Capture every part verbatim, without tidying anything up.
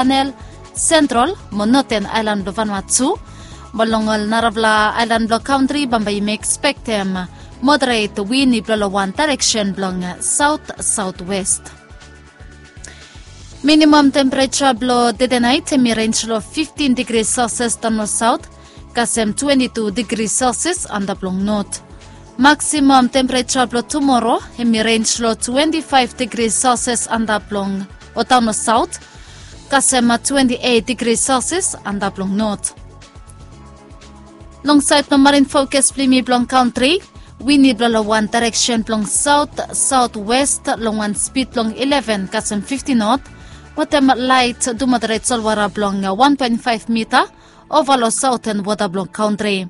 Chanel, Central mo Northern Island blong Vanuatu. Mo long ol narafala island blong kantri bambae yumi expectem moderate wini blong lo wan direction blong south southwest. Minimum temperature blong tede nait hemi range lo fifteen degrees Celsius daon lo south, kasem twenty-two degrees Celsius antap long north. Maximum temperature blong tomorrow hemi range lo twenty-five degrees Celsius antap long o daon lo south, kasem twenty-eight degrees Celsius antap long north. Long sait blong marin fokus blong yumi blong kantri, wini blong lo wan direction blong south southwest long wan speed blong eleven kasem fifty knot, wetem light to moderate solwara blong one point five mita ova lo southern wota blong kantri.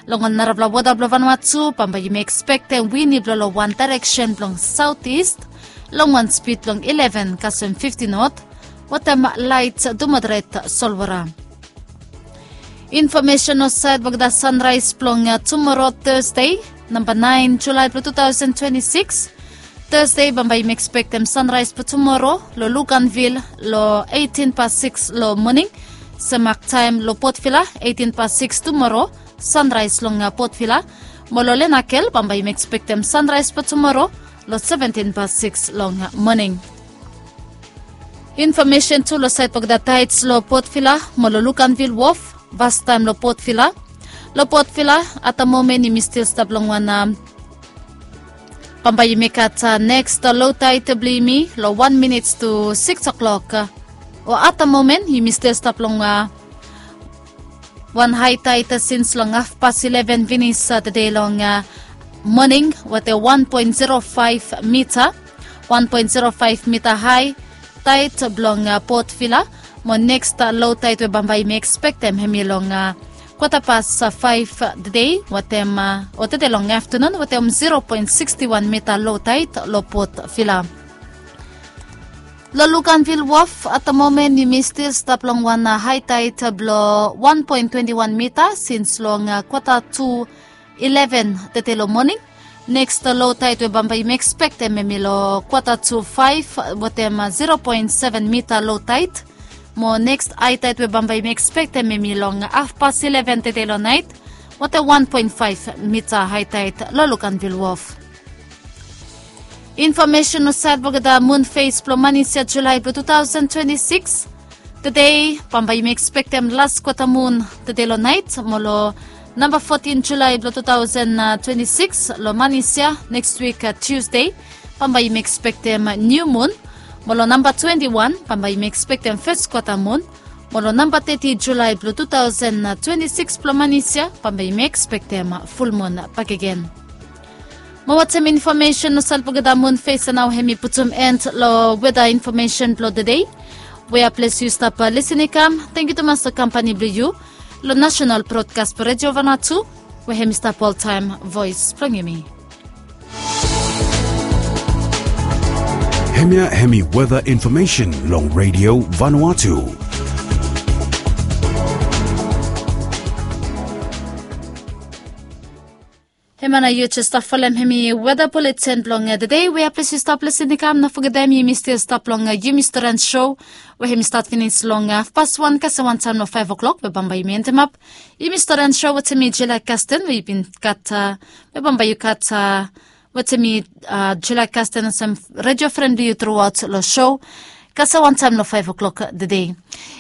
Long ol narafala wota blong Vanuatu bambae yumi expectem wini blong lo wan direction blong southeast long wan speed blong eleven kasem fifty knot, wetem light to moderate solwara. Infomesen lo sait blong olgeta sunrise blong tumoro Thursday, namba nine July blong two thousand twenty-six. Thursday bambae yumi expectem sunrise blong tumoro lo Luganville lo eighteen past six lo moning. Sem mak taem lo Port Vila, eighteen past six tumoro, sunrise long Port Vila. Mo lo Lenakel bambae yumi expectem sunrise blong tumoro lo seventeen past six long moning. Infomesen tu lo sait blong olgeta tides lo Port Vila mo lo Luganville Wharf, fastaem lo Port Vila. Lo Port Vila, at the moment yumi stil stap long wan, bambae yumi gat next low tide blong yumi lo wan minit to six o'clock. O at the moment yumi stil stap long wan high tide since long half past eleven finis tede long moning, wetem one point zero five mita, one point zero five mita high tide blong Port Vila. Mo next low tide we bambae yumi expectem hemi long kwata past five tede wetem, o tede long aftenun, wetem zero point sixty one mita low tide lo Port Vila. Lo Luganville Wharf, at the moment yumi stil stap long wan high tide blong one point twenty one mita since long kwata tu eleven tede lo moning. Next low tide we bambae yumi expectem hemi lo kwata tu five wetem zero point seven mita low tide. Mo next high tide we bambae yumi expectem hemi long half past eleven tede lo nait, wetem one point five mita high tide lo Luganville Wharf. Infomesen lo sait blong olgeta mun fes blong manis ya July blong two thousand twenty-six. Tede bambae yumi expectem las kwata mun tede lo nait, mo lo namba fourteen July blong two thousand twenty-six lo manis ya next week Tuesday, bambae yumi expectem niu mun. Mo lo namba twenty one bambae yumi expectem fes kwata mun. Mo lo namba thirty July blong two thousand twenty-six blong manis ya bambae yumi expectem ful mun bakegen. Mo wetem infomesen lo sait blong olgeta mun fes ya nao hemi putum end lo weta infomesen blong tede. Wea ples yu stap lisin i kam, tangkiu tumas lo kampani blong yu lo National Broadcast Redio Vanuatu, we hemi stap oltaem voes blong yumi. Hemia hemi weta infomesen long Redio Vanuatu. Hemia nao yu jes stap folem hemi weta buletin blong tede. Wea ples yu stap lisin i kam, no fogetem yumi stil stap long yumi storian sou, we hemi stat finis long hafpas wan kasem wantaem lo faef o'klok we bambae yumi endemap. Yumi storian sou wetem mi Julia Kasten, we yu bin gat, we bambae yu gat wetem mi, Julia Kasten olsem redio fren blong yu truaot lo sou kasem wantaem lo faef o'klok tede.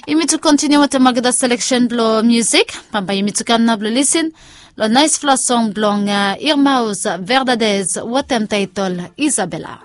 Yumi tu kontiniu wetem olgeta seleksen blong miusik. Bambae yumi tu kam nao blong lisin lo naesfala song blong Irmaus Verdades wetem taetol Isabela.